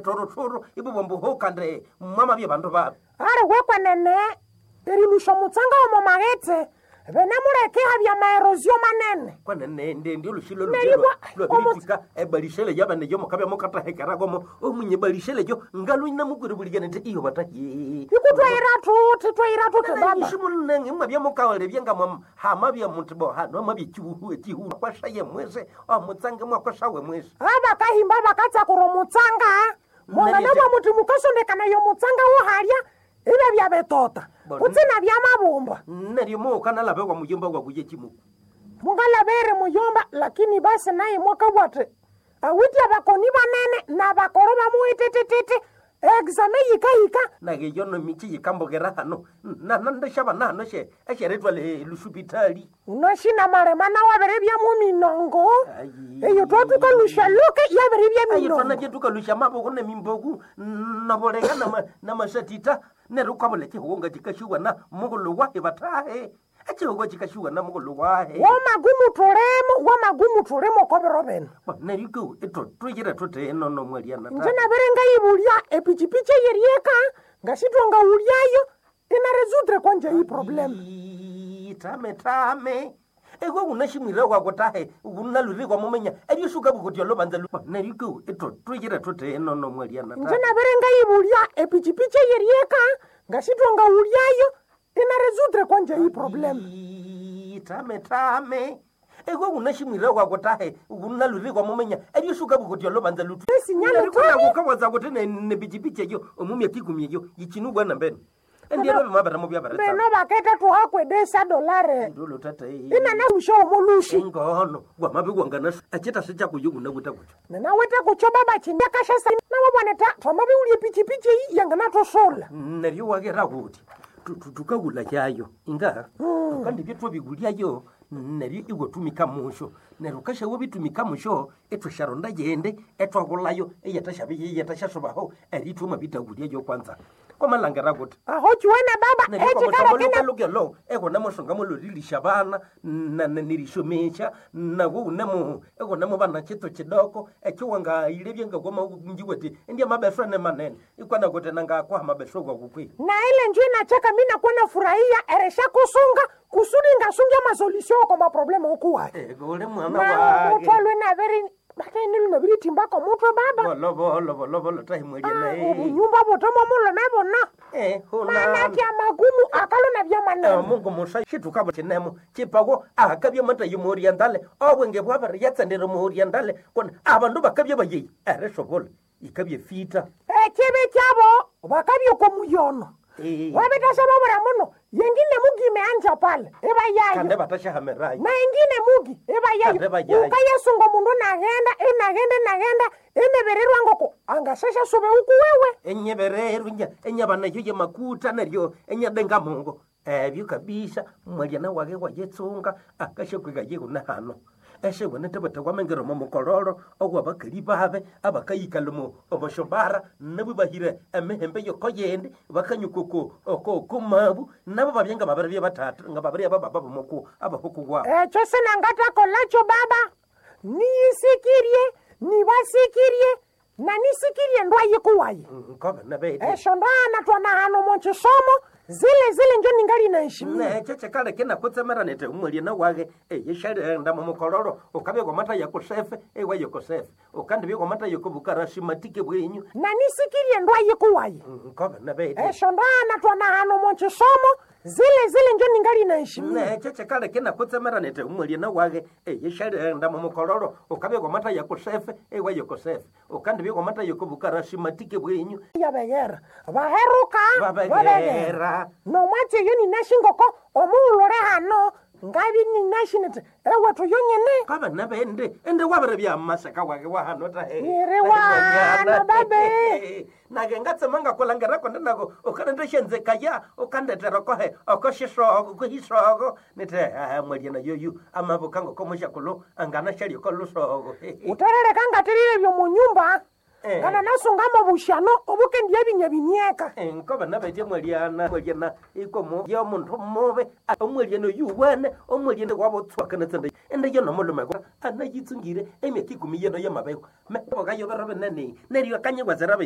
Torotoro ibubombo kandi mwamabye bandu babi. Ali wekwenene erilusha omutsanga omo maghetse benemuleke habya maerosio manene. Kwenene ndi olushilo Neribwa lwabiritika ebalishele yabane yo mukabya mukatahekeragomo omunye balishele yo ngaluina mukwiribulikene nti iyo batahi. Ikutwaira tuti twaira tuti baba. Nishimunenge mwabya mukawalebya nga hamabya muntu bo hano mwabya chihuhu chihuhu kwashaye mwese omutsange mwakwashawe mwese. Abakahimba bakatsakura omutsanga mwana Neryo- nabwa muti mukasondekana yomutsanga wohalya ibe byabetota Bona- kutsina byamabumba. Neryo mukanalabe wa muyomba wakuye chimuku. Mungalabere muyomba lakini basi naye mwakabwate awiti abakoni banene nabakoro bamuwitetititi exame yikahika. Nage yono michi yikambokera hano nandashaba nahano she esheretwa lusupitali. Nashina marema nawabere byamu minongo. Ayi. Eyo twatukalusha luke yabere bya Ayi minongo. twana byetukalusha maboko nemimboku naboleka namasatita neryo ukabula chihugo nga chikashiwa na mukulu wahe batahe echihugo chikashiwa na mukulu wahe. Wamagumu tulemo wamagumu tulemo kobero beno. Neryo ku twiyire tuti enono mwaliana. Nje nabere ngayibulya epichipichi eyerieka ngashitwa ngawulyayo inaresudre kwanje iyi problem. Tame tame eko kunashimwira kwako tahe kunalurikwa mumenya eryosuka bukutya lobanza neryo ku twiyire tuti enono mwaliana. Nje nabere ngayibulya epichipichi eyerieka ngashitwa ngawulyayo inaresudre kwanje iyi problem. Tame tame eko kunashimwira kwako tahe kunalurikwa mumenya eryosuka bukutya lobanza lutu. Esinyalo tami. Kawaza kuti nepichipichi eyo omumya kikumi eyo yichinubwa nambene endiero bimabera mubyabaretsa. Beno baketa tuhakwedesa dolare Ndolo tata inanalusha omolushi. Ngono wamabikwangana achita sichakuyo kunakuta kucho. Ninawete kucho baba chindakashasa nawaboneta twamabiulya epichipichi eyi yanganatosola. Neryo wakera kuti tukakula chayo inga tukandibye twabikulyayo neryo iwatumika musho neryo ukashawa bitumika musho etwasharonda yende etwakulayo eyatashasobaho erithuma bitakulyayo kwanza kwamalangera kuti Aho chiwene baba echikalekene. lukelo ekona mushonga mulolilisha bana nirishomesha nako unemo ekonamo bana chito chidoko echiwangaile byengakwamaunjiweti endya mabeswa ne manene ikwana kuti nangakwaha mabeswa kwakukwi. Na ile njo inachaka mi nakuwa nafurahia eresha kusunga kusudi ngasungia masolusio kwa maproblema ukuwayo. Ule mwana Na wake mutwe lwenaveri bataini lunaviritimba mutwe baba. bolobolobolobo Ah, tahimweliene. obunyumba butemo mulome bona manaki amagumu akalona byamanene. Mungu musa chitukabo chinemo chipako akabya matayi muorientale obwenge bwabere yatsendere muorientale kona abandu bakabya bayeyi eresobola ikabya fita. Ekibi kyabo bakabya okomuyono wabitasha babura muno yengine mugi imeanja pale ibayayo. Kande batashahamerayo. Na ingine mugi Kande ibayayo bayayo. ukayesunga omundu nagenda inagenda inagenda inebererwa ngoko angashasha sube uku wewe. Enyebererwa enyabana eyo yemakuta neryo enyadenga mungu ebyo kabisa mwaliana wake wayetsunga akashakwika yekuna hano esewene tebete kwamengera omo mukololo ogwabakali babe abakayikala omo omoshobara nabo bahire emihembe yoko yindi bakanyukoko okokumabu nabo babye nga babiri byabatatu nga babiri abababa bomoku abahuku gwabo. Ekyo sinangatakolacho baba, niyisikirie nibasikirie na nisikirie ndwayikuwaye. Nkobe nabete. Esho ndana twana hano monchisomo zile zile njo ningali naheshimia. Necho chikaleke nakutsemera nete umwaliana wake eyeshalenda mumukololo ukabya kwamata yakusefe ewa yokosefe ukandibya kwamata yokobukarasimatike bwenyu. Na nisikirie ndwayikuwaye. Nkobe nabete. Esho ndana twana hano monchisomo zile zile njo ningali naheshimia. Necho chikaleke nakutsemera nete umwaliana wake eyeshalenda mumukololo ukabya kwamata yakusefe ewa yokosefe ukandibya kwamata yokobukarasimatike bwenyu. Yabegera baheruka babegera. Babegera. Nomwatsi eyo ninashingoko omuulule hano ngabi ninashinete ewethu yonyene. Kaba nabende ende wabere byamasaka wake wahano tahe. Iri wahano, babe. Nake ngatsema ngakulangera konde nako ukanendeshenzekaya ukandetera kohe okoshisoko kuhisoko nite mwaliana yoyu amabuka ngokomushakulo anganashalyoko lusoko. Uterereka ngatirire byomunyumba. Eh. Ngana nasungamo bushano obukendiya binya binyeka. Nkoba nabetye mwaliana mwaliana ikomo yo muntu mube omwaliana yuwene omwaliana wabotswakanetsende ende yo nomulume anayitsungire emyaka ikumi yeno yamabeko meboka yobero binene neryo akanyigwazera.